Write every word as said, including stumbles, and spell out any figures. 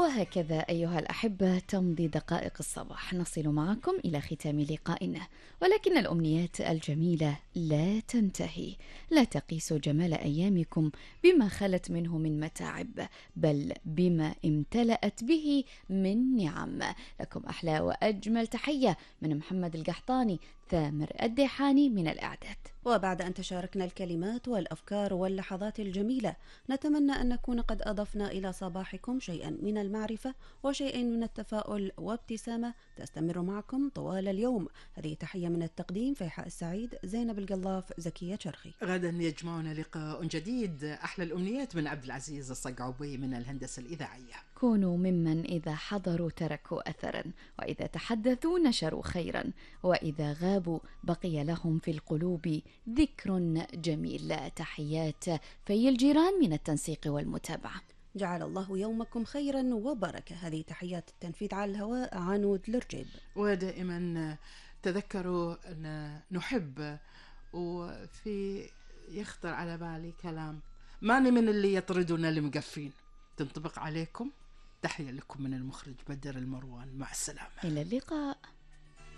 وهكذا أيها الأحبة تمضي دقائق الصباح، نصل معكم إلى ختام لقائنا، ولكن الأمنيات الجميلة لا تنتهي. لا تقيسوا جمال أيامكم بما خلت منه من متاعب، بل بما امتلأت به من نعم. لكم أحلى وأجمل تحية من محمد القحطاني، ثامر الديحاني من الإعداد. وبعد أن تشاركنا الكلمات والأفكار واللحظات الجميلة، نتمنى أن نكون قد أضفنا إلى صباحكم شيئا من المعرفة وشيئا من التفاؤل وابتسامة تستمر معكم طوال اليوم. هذه تحية من التقديم فيحاء السعيد، زينب القلاف، زكية شرخي. غدا يجمعنا لقاء جديد. أحلى الأمنيات من عبد العزيز الصقعوبي من الهندسة الإذاعية. كونوا ممن إذا حضروا تركوا أثرا، وإذا تحدثوا نشروا خيرا، وإذا غابوا بقي لهم في القلوب ذكر جميل. تحيات في الجيران من التنسيق والمتابعة. جعل الله يومكم خيرا وبركة. هذه تحيات التنفيذ على الهواء عنود لرجيب. ودائما تذكروا أن نحب، وفي يخطر على بالي كلام ماني من اللي يطردون المقفين، تنطبق عليكم. تحية لكم من المخرج بدر المروان، مع السلامة، إلى اللقاء.